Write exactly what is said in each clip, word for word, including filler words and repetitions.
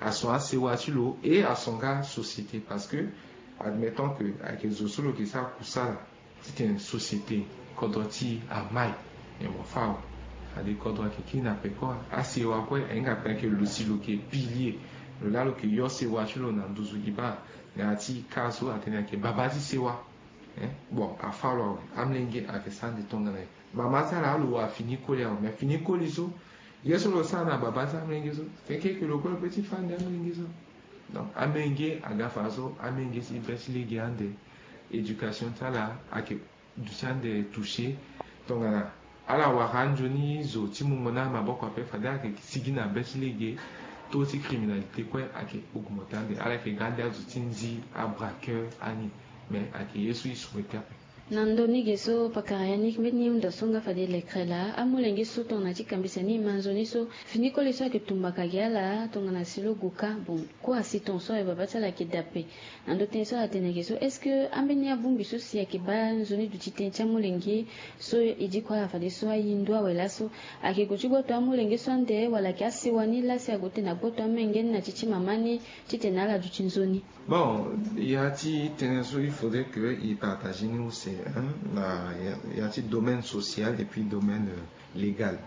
ason asewa ti lo e ason nga société, parce que admettons que ayeke zo so lo yeke sara kusala titene société kodro ti e amai. Mais mo fa awe. Ade kodro ayeke kiri na peko. Asewa kue ahinga pe ayeke lo si lo yeke pilier. Lo laa lo yeke yo sewa ti lo na nduzu. E baa na ya ti ka so atene ayeke baba ti sewa. Bon, afa lo awe. Amolenge ayeke sara ande tongana nyen? Mama ti ala lo wara fini koli awe. Mais fini koli so ye so lo sara na baba ti amolenge so, feke eke lo kue lo pe ti fa ande amolenge so. Donc amolenge aga fa so amolenge si be ti lege ande. Éducation ti ala ayeke duti ande toucher. Tongana ala wara anzoni zo ti mungo na amaboko ape, fade ala yeke sigi na be ti lege. Taux ti criminalité kue ayeke augmenter ande. Ala yeke ga ande azo ti nzi, abraqueur, ani. Mais ayeke ye so e souhaiter ape. Na ndö ni ge so, pakara Yannick, mbeni hunda so nga fade lekere laa, amolenge so tongana ti kambisa ni e ma nzoni so, fini koli so ayeke tumbaka gi ala tongana si lo gue ka. Bon, kue asi ton so awe, baba ti ala ayeke dape. Na ndö tënë so ala tene ge so, est-ce que ambeni abongbi so si ayeke baa nzoni duti tënë ti amolenge so e diko ala fadeso aye ndo awe laso, ayeke gue ti gboto amolenge so ande, wala ayeke asewa ni laa si ague tene na gboto amolenge ni na ti ti mama ni titene ala duti nzoni? Bon, ya ti tënë so il faudrait que e partager ni use, hein, na ya, ya ti domaine social et puis domaine, euh, légal.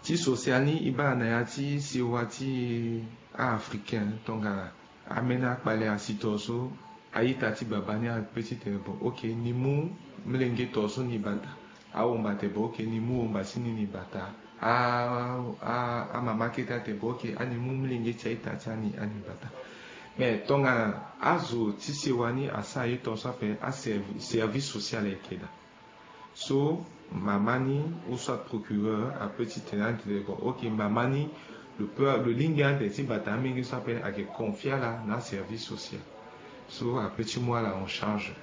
Ti social ni, e baa na ya ti sewa ti a-Africain, tongana ambeni akpale asi to so, a-ita ti baba ni ape titene bon, ok, ni mu molenge to so ni bata. Awomba te bon, ok, ni mu womba ti ni ni bata. A, a, amama kete ate bon, ok, ani mu molenge ti a-ita ti ani, ani bata. Mais tongana azo ti sewa ni asara ye ton so ape, aservi, service social ayeke daa. So mama ni ou soit procureur ape titene ande tene bon, ok, mama ni lo pe, lo lingbi ande ti bata amolenge so ape, ayeke confier ala na aservice social. So ape ti mu ala en charge.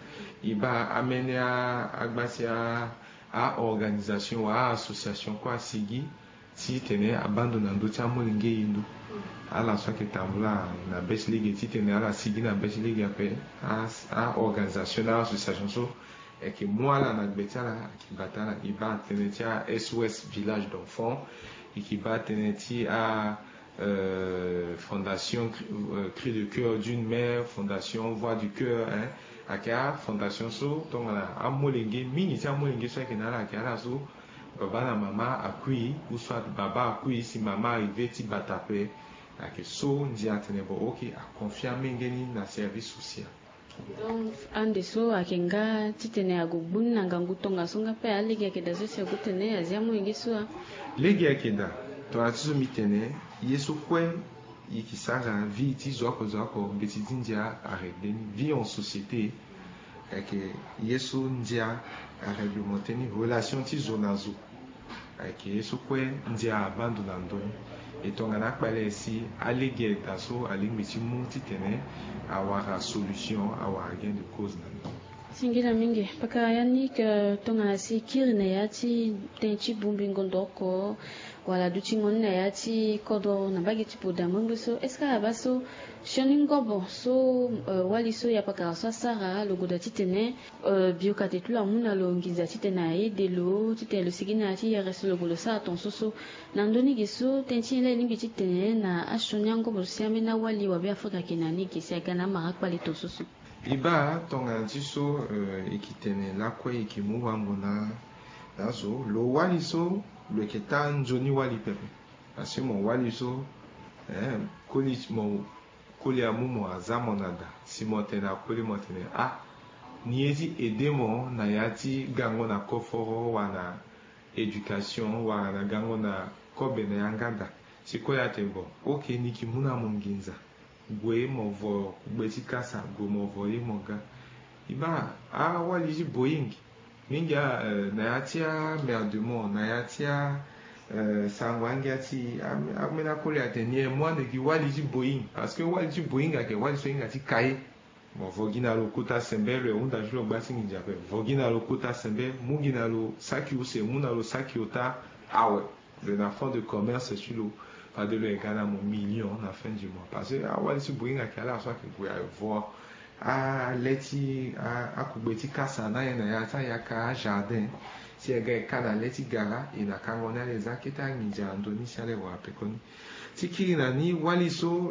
E baa ambeni a, agba ti a, a-organisation wala a-association kue asigi titene abaa ndo na ndö ti amolenge ye ndo. Ala so ayeke tambula na be ti lege titene ala sigi na be ti lege ape. A, a-organisation na a-association so ayeke mu ala na gbe ti ala, ayeke bata ala. E baa tënë ti a-S O S Village d'Enfants, e yeke baa tënë ti a, euh, Fondation Cri, euh, Cri de Coeur d'une Mère, Fondation Voix du Coeur, hein. Ayeke afondation so tongana amolenge, mingi ti amolenge so ayeke na ala ayeke ala so baba na mama akui, ou soit baba akui si mama arrive ti bata ape. Ayeke so ndia atene bon, ok, aconfier amolenge ni na service social. Donc ande so ayeke nga titene ague gbu ni na ngangu tongaso nga pe, alege ayeke daa so si ague tene azia amolenge so a? Lege ayeke daa. Tongana ti so mbi tene, ye so kue e yeke sara, vie ti zo oko zo oko, mbeti ti ndia arégler ni, vie en société. Ayeke ye so ndia aréglementer ni, relation ti zo na zo. Ayeke ye so kue ndia abaa ndo na ndö ni. E tongana akpale si alege daa so alingbi ti mu titene awara solution, awara gain de cause na ndö ni. Singila mingi. Pakara Yannick, euh, tongana si e kiri na ya ti tënë ti bongbi ngondo oko, wala dutingo ni na ya ti kodro na mbage ti Buda ngbangbo so, est-ce que ala baa so sioni ngobo so, euh, wali so ya pakara so asara, lo goda titene, euh, bioka te ti lo amu na lo nginza titene a aide lo titene lo sigi na ya ti yere so lo gue lo sara tongaso so? Na ndö ni ge so, tënë ti nyen laa e lingbi titene na asioni angobo so si ambeni awali wa Beafrika ayeke na ni ge si aga na amara akpale tongaso so? E baa tongana ti so, euh, e yeke tene lakue e yeke mu wango na, na azo, lo wali so lo yeke taa nzoni wali pepe. Parce que mo wali so, eh, koli mo, koli amu mo, aza mo na da. Si mo tene na koli, mo tene ah, ni ye ti aider mo na ya ti gango na koforo wala na éducation wala na gango na kobe na yanga da. Si koli atene bon, ok, ni yeke mu na mo nginza. Gue mo vo kugbe ti kasa, gue mo vo ye mo ga. E baa awali ti Boeing. Mingi, eh, na ya ti amerde mo, na ya ti a, eh, sango angia ti a, ambeni akoli atene ni e mu ande gi wali ti Boeing. Parce que wali ti Boeing ayeke wali so e hinga ti ka ye. Mo vo gi na lo kota sembe, lo ye hunda ti lo gba ti nginza ape. Vo gi na lo kota sembe, mu gi na lo saki use, mu na lo saki ota, awe. Lo na fonds de commerce ti lo, fade lo ye ga na mo million na fin du mois. Parce que awali ti Boeing ayeke ala so ayeke gue aye vo ale ti a, akugbe ti kasa na ye na ya ti ayaka ajardin. Si e ga e ka na le ti gara, e na kango ni ala e za kete anginza na ndö ni si ala e wara pekoni. Ti kiri na ni, wali so